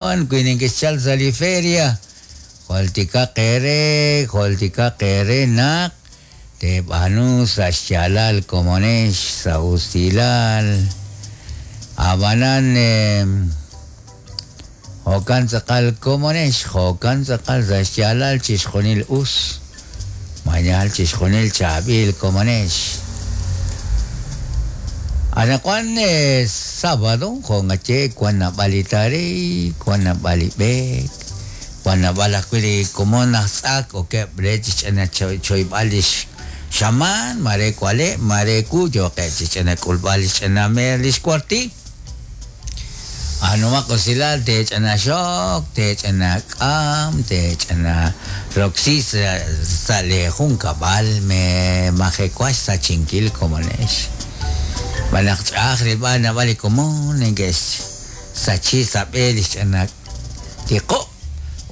Wan wi nekexchalk sa' li feria, jultikaq eere, jultikaq eere naq teeb'aanu sa' xyaalal komonex sa' usilal. Ab'anan jo'kan tz'aqal komonex, jo'kan tz'aqal sa' xyaalal chixjunil us. Mañal chixjunil chaab'il komonex. Anaqwan sábado jo' nqaye wan naab'al li taariy, wan naab'al li b'eek, wan naab'al ajwi' li komon aj tz'ak okeb' re chi xch'ina choyb'al li xamaan, mare wale', mare wu yooqeb' chi xch'ina k'ulb'al li xch'ina meer li xwarti. B'aanumaq usilal teech'ina xok, teech'ina k'am, teech'ina roksi sa' lee junkab'al, meemajewa xsachinkil komonex. Xb'aan naq ch'a'aj rilb'al naab'al li komon neke'xsachi sa' b'e li xch'ina tiqob'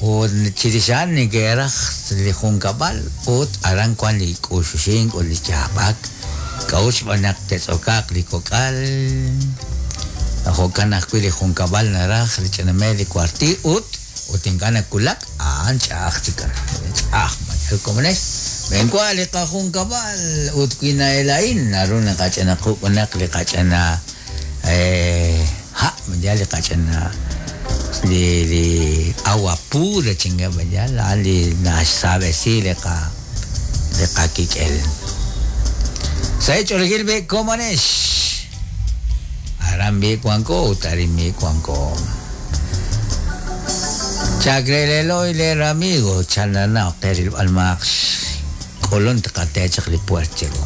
ut chirix a'an neke'raj li junkab'al ut aran wan li k'uxuxink ut li yaab'ak. K'a'ut xb'aan naq te'tz'okaaq li kok'al? Jo'kan ajwi' li junkab'al naraj li ch'ina meel li kuartiil ut ut ink'a' nawulak, a'an ch'a'aj chik ch'a'aj mañal komonex. Xb'eenwa li qajunkab'al ut wi na'ela'in naru naqach'ina quk'unaq li qach'ina ha' mañal li qach'ina li li agua pura chinkeb' mañal a'an li naxsaab'esi li qa li qakik'el. Sa' ch'oolejil b'i komonex. Aran b'i wanko ut arin b'i wanko. Chakreleloy ler amigo, chanana qe rilb'al maaq xk'ulun tqate chaq li puert chiru.